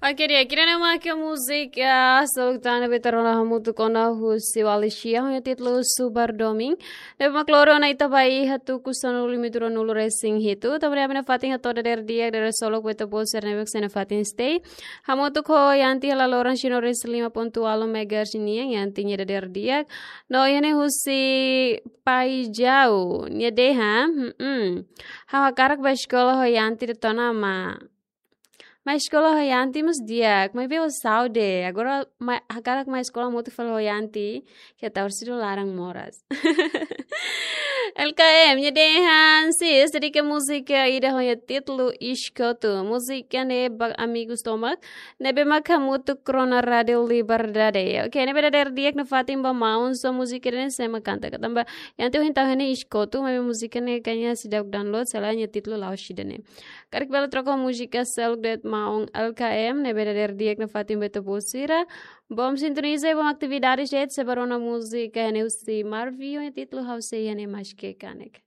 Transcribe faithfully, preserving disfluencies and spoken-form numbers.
Oke, di'ak, ida-ne'e mak múzika seluk tan ne'ebé ita rona hamutuk ona husi Walisha, ho nia títulu Subar Domin. Ne'ebé mak loro ona ita ba iha tuku sanulu lima tuku ruanulu resin hitu. Tanba ne'e ami nafatin hato'o dadeer di'ak, dadeer solok ba ita-boot sira ne'ebé mak sei nafatin stay hamutuk ho Yanti hela loron sino resin lima pontu ualu megahertz nian, Yanti nia dadeer di'ak. No iha ne'e husi Paijau, nia dehan, hmm, ha'u hakarak bá eskola ho Yanti de'it ona, maibé eskola ho Yanti mós di'ak, maibé ho saúde. Agora mai, hakarak mai eskola hamutuk fali ho Yanti, ke taur sido laran moras. L K M, nia dehan, sis, dedika múzika ida ho nia títulu Iskotu. Múzika ne'e ba amigus tomak ne'ebé mak hamutuk rona Rádiu Liberdade. Oke, ne'ebé dadeer di'ak nafatin ba maun, só múzika ida-ne'e sé mak kanta ka, tanba Yanti ohin tau iha ne'e Iskotu, maibé múzika ne'e kayaknya seidauk download, selae nia títulu la'ós ida-ne'e. Karik bele troka múzika seluk de'it maun L K M, ne'ebé dadeer di'ak nafatin ba ita-boot sira. Bom sintoniza, bom atividade, gente, sei bá rona múzika iha ne'e husi Marvio, nia títulu Ha'u Sei Iha Ne'e Maske Kanek.